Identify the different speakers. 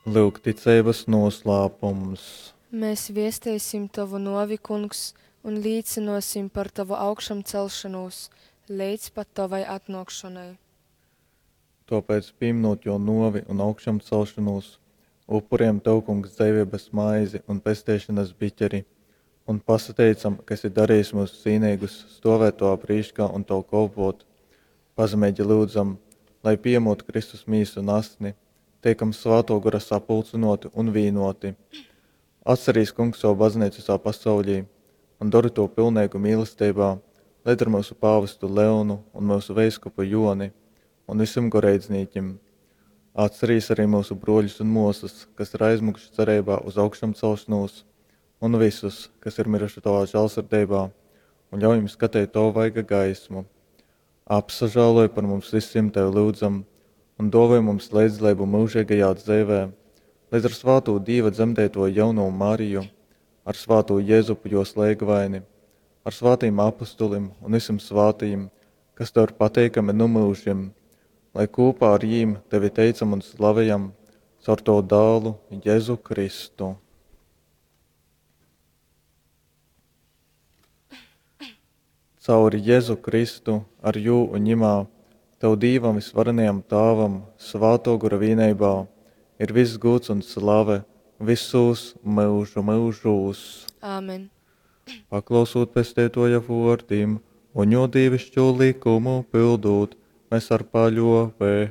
Speaker 1: Lyuk ticeibas noslēpums.
Speaker 2: Mēs viesteisim Tovu nuovi, Kungs, un līcynuosim par Tovu augšamcelšonūs leidz pat Tovai atnuokšonai.
Speaker 1: Tōpēc, pīmynūt Jō nōvi un augšamcelšonūs, upurejam Tev, Kungs, dzeiveibas maizi un pesteišonas biķeri un pasateicam, ka esi darījis mūs cīneigus stovēt Tovā prīškā un Tev kolpot. Pazemeigi lyudzam, lai pījemot Kristus mīsu un asni, teikam Svātō Gora sapulcynōti un vīnōti. Atcerīs, Kungs, savu baznīcu visā pasaulī un dori to pilneigu mīlestībā, leidz ar myusu pāvestu Leonu un myusu veiskupu Joni un visiem goreidznīkim. Atcerīs arī mūsu broļus un mosas, kas ir aizmukuši cerībā uz augšamcelšanos, un visus, kas ir miruši tavā žēlsirdībā, un ļauj viņiem skatīt tavu vaiga gaismu. Apsažāloj par mums visiem tevi lūdzam, un dāvoj mums līdzdalību mūžīgajā dzīvē, līdz ar svāto Dieva dzemdēto jauno Mariju, ar svāto Jēzupu jo slēgvaini, ar svātīm apustulim un visiem svātajiem, kas tev ir pateikami nu mūžiem, lai kopā ar jīm tevi teicam un slavējam caur tavu dālu Jēzu Kristu. Cauri Jēzu Kristu, ar jū un ņimā, Tev Dīvam visvarenajam Tāvam, svāto gora vīneibā, ir viss gūds un slave visūs myužu myužūs.
Speaker 2: Āmen.
Speaker 1: Paklausūt pesteitoja vōrdim un jo dīvišķo likumu pildūt, mēs ar paļōveibu.